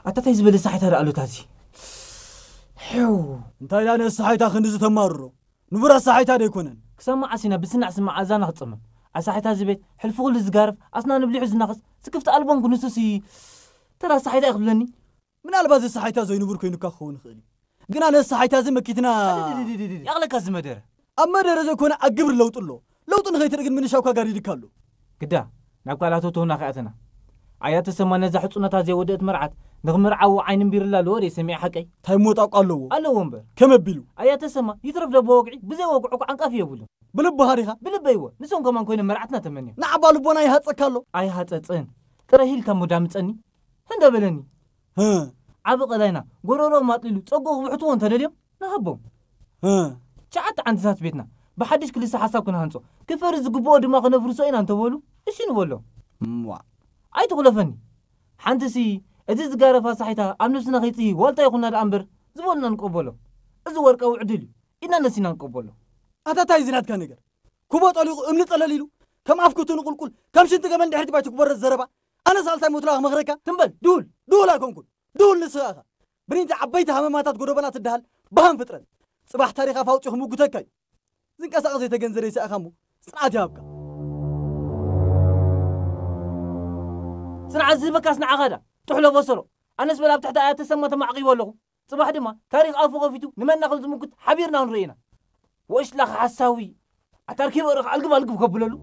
ኣታ እንታይ ዝበለ ሳሒታ ደኣ ኣሎ እታ እዚ? ሕው። እንታይ ደኣ ነዚ ሳሒታ ክንድዚ ተማርሮ? ንቡር ኣሳሒታ ዶ ኣይኮነን? ክሳብ መዓስ ኢና ብስናዕ ስማዕ ኣዛና ክጸመም? ኣሳሒታ እዚ ቤት፣ ሕልፊ ኩሉ ዝጋርፍ፣ ኣስናን ብሊሑ ዝናኸስ፣ ስክፍቲ ኣልቦን ክንሱሲ ተራ ኣሳሒታ እዩ ክብለኒ? ምናልባት እዚ ኣሳሒታ ዘይንቡር ኮይኑካ ክኸውን ይኽእል እዩ። ግና ነዚ ኣሳሒታ እዚ መኪትና። ድድድድድድ። ያቕለካ እዚ መደረ። ኣብ መደረ ዘይኮነ ኣብ ግብሪ ለውጢ ኣሎ። ለውጢ ንኸይትርኢ ግን ምንሻውካ ጋሪድካ ኣሎ። ግዳ፣ ናብ ካልኣት እቶና ከኣተና። ኣያ ተሰማ ነዛ ሕጹነታ ዘይወደአት መርዓት ንኽምርዓዎ ዓይኒ እምቢርላ ኣለዎ ደይ ሰሚዐ ሓቀይ? እንታይ ሞጣቋ ኣለዎ? ኣለዎ እምበር። ከመ ኣቢሉ? ኣያ ተሰማ ይትረፍ ደቦ ወግዒ ብዘይ ወግዑ እኮ ዓንቃፊ የብሉን። ብልብኻ ዲኻ? ብልበይ እወ። ንሶም ከማን ኮይኖም መርዓትና ተመንዮም። ንዓባ ልቦና ይሃጸካ ኣሎ። ኣይሃጸጽን። ጥረ ሂልካ እሞ ዳምጸኒ። ህንደ በለኒ። ህ። ዓቢ ቀላይና ጎረሮ ማጥሊሉ ጸጉ ክብሕትዎ እንተደልዮም ንሃቦም። ህ። ትሽዓተ ዓንድታት ቤትና ብሓድሽ ክልሰ ሓሳብ ክንሃንጾ፣ ክፈርስ ዝግብኦ ድማ ክነፍርሶ ኢና እንተበሉ፣ እሺ ንበሎም። እምዋ። ኣይትኹለፈኒ። ሓንትሲ፣ እቲ ዝጋረፋ ሳሒታ ኣብ ነብስና ከይጽሂ ዋልታ ይኹና ደኣ እምበር ዝበሉና ንቀበሎ። እዚ ወርቃዊ ዕድል እዩ። ኢድና ነሲና ንቀበሎ። ኣታ እንታይ እዚ ናትካ ነገር? ኩቦ ጠሊቑ እምኒ ጠለል ኢሉ፣ ከም ኣፍ ክቱ ንቁልቁል፣ ከም ሽንቲ ገመል ድሕሪት ባይቱ ክበረዝ ዘረባ። ኣነ ሳልሳይ ሞትላ ክመኽረካ? ትም በል፣ ድሁል። ድሁል ኣይኮንኩን። ድሁል ንስኻ ኢኻ። ብሪንቲ ዓበይቲ ሃመማታት ጎደቦና ትደሃል በሃም ፍጥረት። ጽባሕ ታሪኽ ኣፍ ኣውጺኡ ክምጉተካ እዩ። ዝንቀሳቐስ ዘይተገንዘረ ይስኣኻ እሞ ጽንዓት ይሃብካ። ጽንዓት ዝህበካስ ንዓኻ ዳ ጥሕሎ በሰሎ። ኣነስ በል ኣብ ትሕቲ ኣያ ተሰማ ተማዕቂቡ ኣለኹ። ጽባሕ ድማ ታሪኽ ኣፉ ከፊቱ ንመና ከም ዝምጉት ሓቢርና ክንርኢ ኢና። ወሽላኽ ሓሳዊ። ኣታ ርኪበ ርኽ ኣልግብ ኣልግብ ከብለሉ።